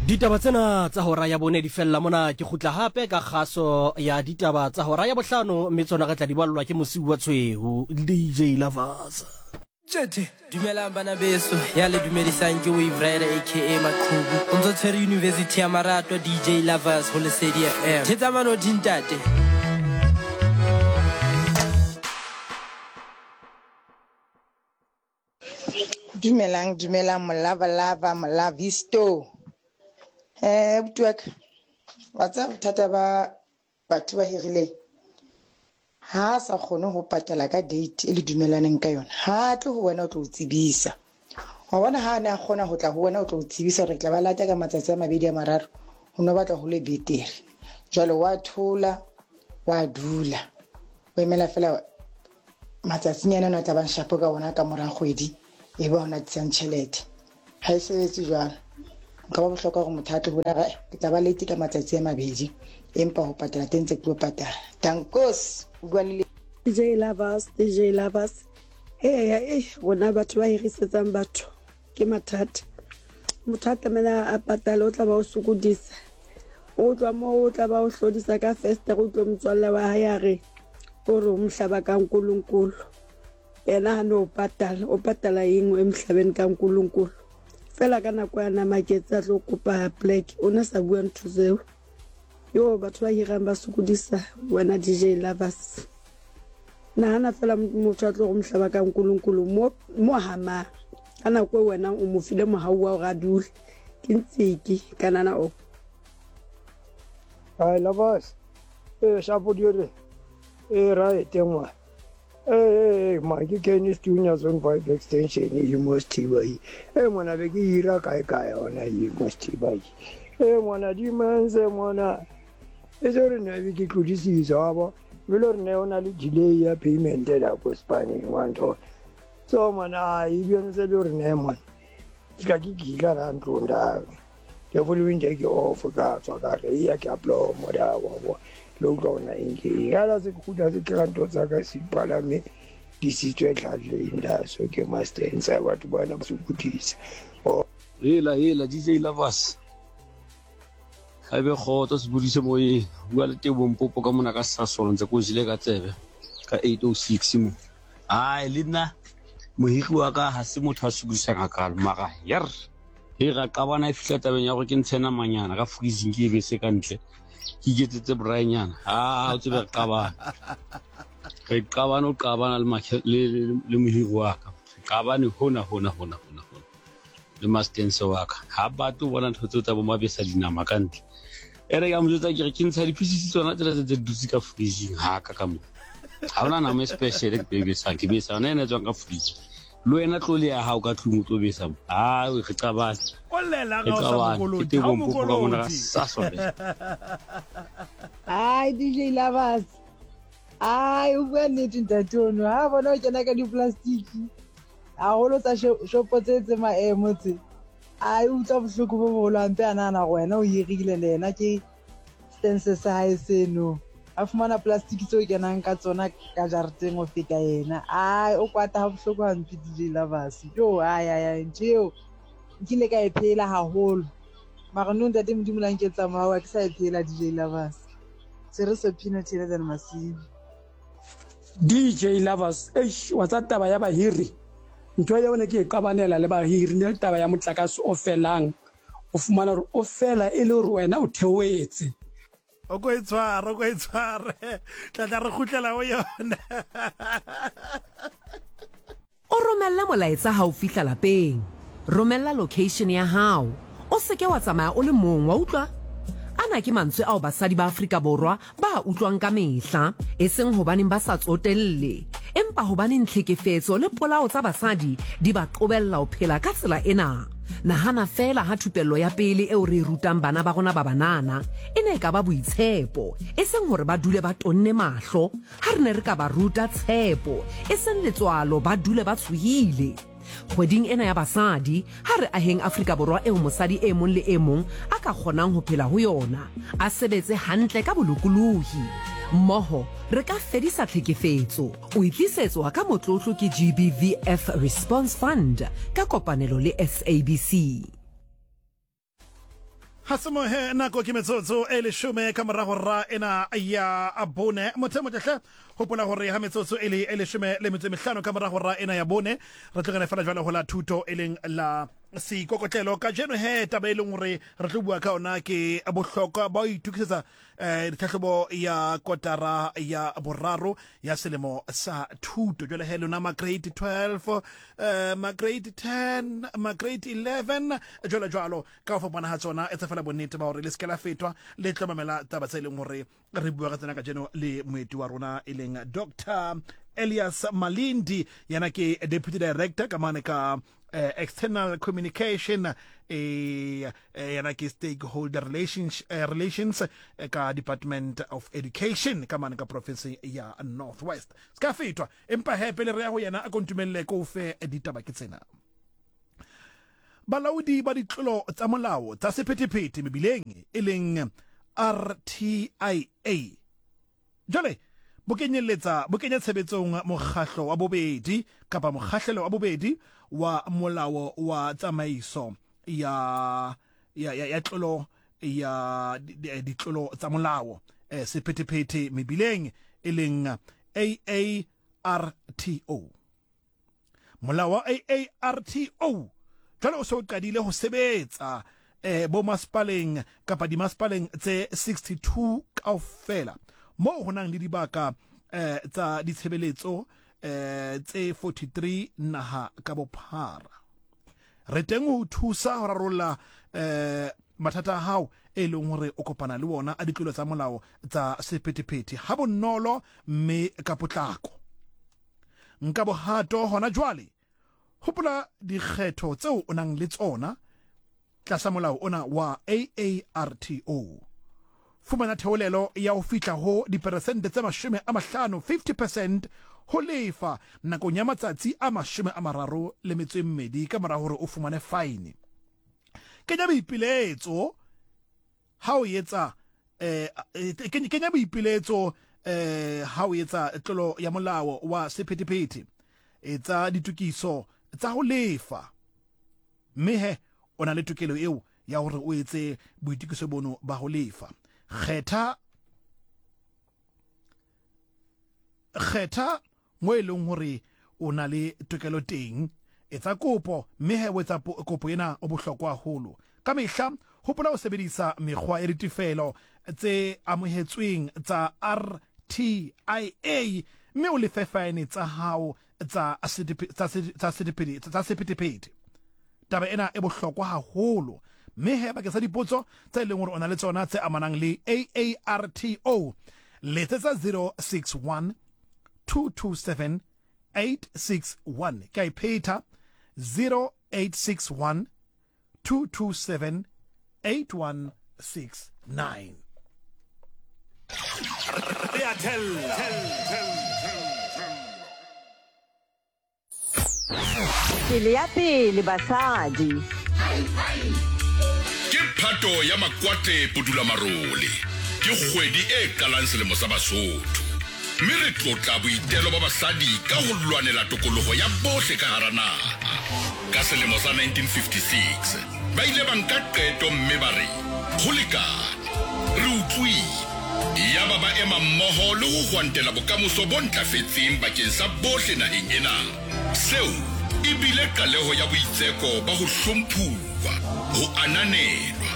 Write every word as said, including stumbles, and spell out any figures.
Ditaba tsena tsa hora ya bone di fella mona. Ke kgutla hape ka kgaso ya ditaba tsa hora ya bohlano, mme tsona re tla di ballwa ke Mosiu wa Tshweu, D J Lavas. Tjhethe, dumelang bana beso, ya le dumedisang ke Wave Rider aka Maqhubu. O ntso tshwere University ya Maratwa D J Lavas ho Lesedi F M. Thetsa manothi ntate. Dumelang, dumelang molava lava molavisto. Eh, abuti wa ka, wa tseba bothata ba batho ba hirileng, ha a sa kgone ho patala ka date e le dumellaneng ka yona, ha a tle ho wena o tlo o tsebisa. Wa bona ha a ne a kgona ho tla ho wena o tlo o tsebisa hore ke tla ba lata ka matsatsi a mabedi a mararo, ho no batla ho le betere. Jwale wa thola, wa dula, o emela fela matsatsinyana ana a tla bang shapo ka ona ka mora kgwedi, e ba ona tlisang tjhelete. Ha e sebetse jwalo. Nka ba bohlokwa hore motho a tle ho bona, ke tla ba late ka matsatsi a mabedi, empa ho patala teng ntse ke tlo patala. Dankos, o bua le D J Lavas, D J Lavas. Eya, eh, rona batho ba hirisetsang batho ke mathata. Motho a tlamehile a patale, o tla ba o sokodisa. O tloha moo, o tla ba o hlodisa ka festere, o utlwe motswalle wa hae a re, o re o mohlaba ka nkolonkolo. Yena ha no patala, o patala eng e mohlabeng ka nkolonkolo? Fela ka nako ya na maketse a tlo kopa plek, o ne sa bua ntho tseo. Yo, batho ba hirang ba sokodisa wena D J Lavas. Nahana fela motho a tlo go mohlaba ka nkolonkolo mo, mo hamang. Ka nako e wena o mo file mohau wa hore a dule. Ke ntsiki kanana o. Hi Lavas. Eh, shapo dire. Eh, right ngwa. Eh, eh, ma ke Kenny Stunya Zone five extension e mo Sthiba. Eh, ngwana be ke hira kae kae ona e mo Sthiba. Eh, ngwana di manze ngwana. E se re ne be ke tlodisisa wa bo. Bile re ne ona le delay ya payment la ko Spain wa ntho. So ngwana e bi ntse le re ne mona. Ke ka ke gila ra ntlong da. Ke following day ke off ka tswa ka re ya ke upload mo da wa bo. Le utlwa ona eng ke eng. Ha la se kgutla se kera ntho tsa ka se palame di sitswe tlhatleng da so ke master ntse batho bana ba sokodisa. Oh. Hela, hela, D J Lavas. Ha ebe kgotso se bodise moyeng. Bua le Tebo Mpopo ka mona ka Sasol ntse ko jele ka tsebe ka eight oh six mo. Ai le nna mohiri wa ka ha se motho a sokodisang hakalo mara yer. He ra qabana e fihla tabeng ya hore ke ntshe namanyana ka freezing ke e bese ka ntle. Ke iketsetse braainyana. Ah, o tsebe re qabana. Re qabana o qabana le makhe, le, le, le mohiri wa ka. Re qabane hona, hona, hona, hona, hona. Le mastense wa ka. Ha batle ho bona ntho tseo tsa bo mabesa dinama ka ntle. E re ka mo jwetsa ke re ke ntsha di-pieces tsona tsela tse tse dutse ka freezing ha ka ka mo. Ha hona nama e special ke e besang, ke besa yona ena e tswang ka freezing. Le wena tlo le ya hao ka tlung o tlo besa mo. Ah, re qabane. O llela Re ga o sa qabane. mokoloti, Ke teng ha o Mpopo ka mona ka mokoloti. Sasol. Ai, D J Lavas. Ai, o bua nnete ntate ono. Ha bona o kena ka di-plastic. Haholo tsa sho-, shopo tse tse maemo tse. Ai, o utlwa bohloko bo boholo hampe a nahana hore wena o hirile le yena ke stance sa hae seno. A fumana plastic tseo kenang ka tsona ka jareteng ho feta yena. Ai, o kwata ha bohloko hampe D J Lavas. Jo, ai, ai, ai, ntho eo nkile ka e phela haholo. Mara nou ntate Modimo la nketsa mohau, ha ke sa e phela D J Lavas. Se re Sophino Taylor than Masimo. D J Lavas, eish, wa tsa taba ya bahiri. Ntho eo ne ke e qabanela le bahiri, ne le taba ya motlakase o felang. O fumana hore o fela e le hore wena o theohetse. O ko e tshware, o ko e tshware. Tla tla re kgutlela ho yona. O romelle molaetsa ha o fihla lapeng. Romella location ya hao. O seke wa tsamaya o le mong, wa utlwa? Ana ke mantswe ao basadi ba Afrika Borwa ba utlwang ka mehla, e seng hobaneng ba sa tsotelle, empa hobaneng tlhekefetso le polao tsa basadi di ba qobella ho phela ka tsela ena. Nahana fela ha thupello ya pele eo re e rutang bana ba rona ba banana e ne e ka ba boitshepo, e seng hore ba dule ba tonne mahlo. Ha re ne re ka ba ruta tshepo, e seng letswalo ba dule ba tshohile. Kgweding ena ya basadi, ha re aheng Afrika Borwa eo mosadi e mong le e mong a ka kgonang ho phela ho yona, a sebetse hantle ka bolokolohi. Mmoho re ka fedisa tlhekefetso. O e tlisetswa ka motlotlo ke G B V F Response Fund ka kopanelo le S A B C. Ha se mohe nako ke metsotso e leshome ka morago ra ena ya bone. Motho motle hopola hore ha metsotso e le e leshome le metso e mehlano ka morago ra ena ya bone re tlogele fela jwale ho la thuto e leng la seikokotlelo. Kajeno he taba e leng hore re tlo bua ka ona ke bohlokwa ba ho itokisetsa eh ditlhahlobo ya kotara ya boraro ya selemo sa thuto. Jwale he lona ma grade twelve, eh ma grade ten, ma grade eleven jwalo jwalo ka ho fapana ha tsona. Etsa fela bonnete ba hore le se ke la fetwa le tlo mamela taba tse leng hore re bua ka tsena kajeno le moeti wa rona e leng Doctor Elias Malindi, yena ke Deputy Director ka mane ka eh, External Communication, eh yena ke Stakeholder Relations, eh, Relations eh, ka Department of Education ka mane ka province ya Northwest. Ska fetwa empa he pele re ya ho yena a kontumelle ko fe ditaba ke tsena. Balaodi ba ditlolo tsa molao tsa sephethephethe mebileng e leng R T I A jwale bo kenyelletsa bo kenya tshebetsong mokgahlo wa bobedi kapa mokgahlelo wa bobedi wa molao wa tsamaiso ya ya ya, ya tlolo ya ditlolo tsa molao eh, sephethephethe mebileng e leng A A R T O. Molao wa A A R T O jwale o se o qadile ho sebetsa eh bo masepaleng kapa dimasepaleng tse sixty-two kaofela moo ho nang le dibaka eh tsa ditshebeletso eh tse forty-three naha ka bophara. Re teng ho thusa ho rarolla eh mathata a hao e leng hore o kopana le wona a ditlolo tsa molao tsa sephethephethe ha bonolo mme ka potlako. Nka bohato hona jwale. Hopola dikgetho tseo o nang le tsona tlasa molao ona wa A A R T O. Fumana theolelo ya ho fihla ho diperesente tse mashome a mahlano fifty percent ho lefa nakong ya matsatsi a mashome a mararo le metso e mmedi ka mora hore o fumane fine. Kenya boipiletso ha o etsa eh kenya boipiletso eh ha o etsa tlolo ya molao wa sephethephethe. Etsa ditokiso tsa ho lefa mme he o na le tokelo eo ya hore o etse boitokiso bono ba ho lefa. Kgetha kgetha mo e leng hore o na le tokelo teng, etsa kopo mme he o etsa kopo ena o bohlokwa haholo. Ka mehla hopola ho sebedisa mekgwa ya ditefelo tse amohetsweng tsa R T I A mme o lefe fine tsa hao tsa tsa sephethephethe. Taba ena e bohlokwa haholo mme he bakeng sa dipotso tse leng hore o na le tsona tse amanang le A A R T O letsetsa zero six one two two seven eight six one. Ke a iphetha zero eight six one two two seven eight one six nine. Re a thella. Pele ya pele basadi. Ke phato ya makwate pudula marole. Ke kgwedi e qalang selemo sa Basotho. Mme re tlotla boitelo ba basadi ka ho lwanela tokoloho ya bohle ka hara naha. Ka selemo sa nineteen fifty-six ba ile ba nka qeto mme ba re ho lekane, re utlwile. Yaba ba ema mmoho le ho hwantela bokamoso bo ntlafetseng bakeng sa bohle naheng ena. Seo e bile qaleho ya boitseko ba ho hlomphuwa, ho ananelwa